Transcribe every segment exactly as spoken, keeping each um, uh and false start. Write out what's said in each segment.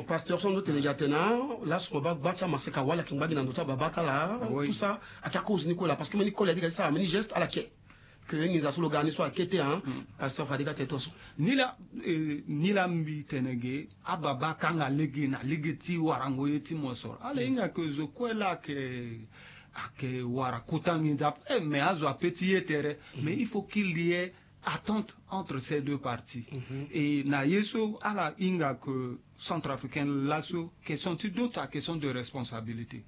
Pasteur, so ndo tene gi atene, laso mo baa gba ti amaseka wala ayeke ngba gi na ndo ti ababa ti ala. Tout ça ayeke akozo ni kue laa, parce que mbeni koli adi ga ti sara mbeni geste ala yeke. Que nginza so lo ga ni so ayeke te, hein. Pasteur, fade ka tene tonso. Ni laa, eh, ni laa mbi tene ge, ababa akanga lege na lege ti warango ye ti mosoro. Ala hinga que zo kue laa ayeke, ayeke wara kota nginza, eh, mais azo ape ti ye tere. Mais il faut qu'il y ait attente entre ces deux parties. Et na ye so ala hinga que centrafricain laso, question ti dot, a question de responsabilité.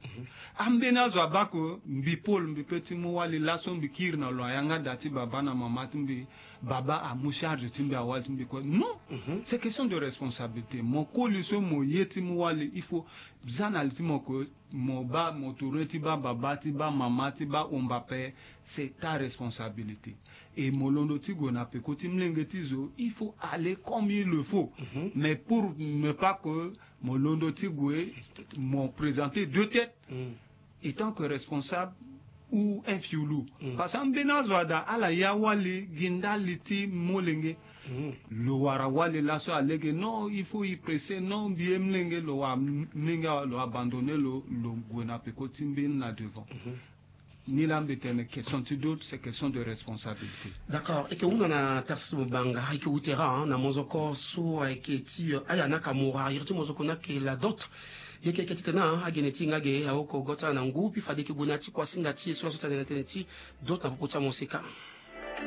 Ambeni azo abaa que mbi Paul, mbi pe ti mu wali laso, mbi kiri na lo ayanga da ti baba na mama ti mbi, baba amu charge ti mbi, awali ti mbi kue. Non. C'est question de responsabilité. Mo koli so mo ye ti mu wali, il faut za na li ti mo que mo baa, mo tourner ti baa baba, ti baa mama, ti baa omba ape. C'est ta responsabilité. Et mo londo ti gue na peko ti molenge ti zo, il faut aller comme il le faut. Mais pour ne pas que mo londo ti gue, mo présenter deux têtes, étant que responsable ou un fiulu. Parce que ambeni azo ada ala ya wali gi ndali ti molenge. Lo wara wali laso alege, non, il faut y presser, non, mbi ye molenge, lo wara molenge awe, lo abandonner lo, lo gue na peko ti mbeni na devant. Ni laa mbi tene question ti dot, c'est question de responsabilité. D'accord. E yeke hunda na Tharcisse Mobanga, e yeke ute ra, hein, na mozoko so ayeke ti, euh, Aya Nakamura, iri ti mozoko ni ayeke la dot. E yeke, e yeke titene, hein, agene ti e nga ge, aoko go ti ala na ngu, puis fade e yeke gue na ya ti kuasinga ti e so laso ti atene na tënë ti dot na popo ti amoseka.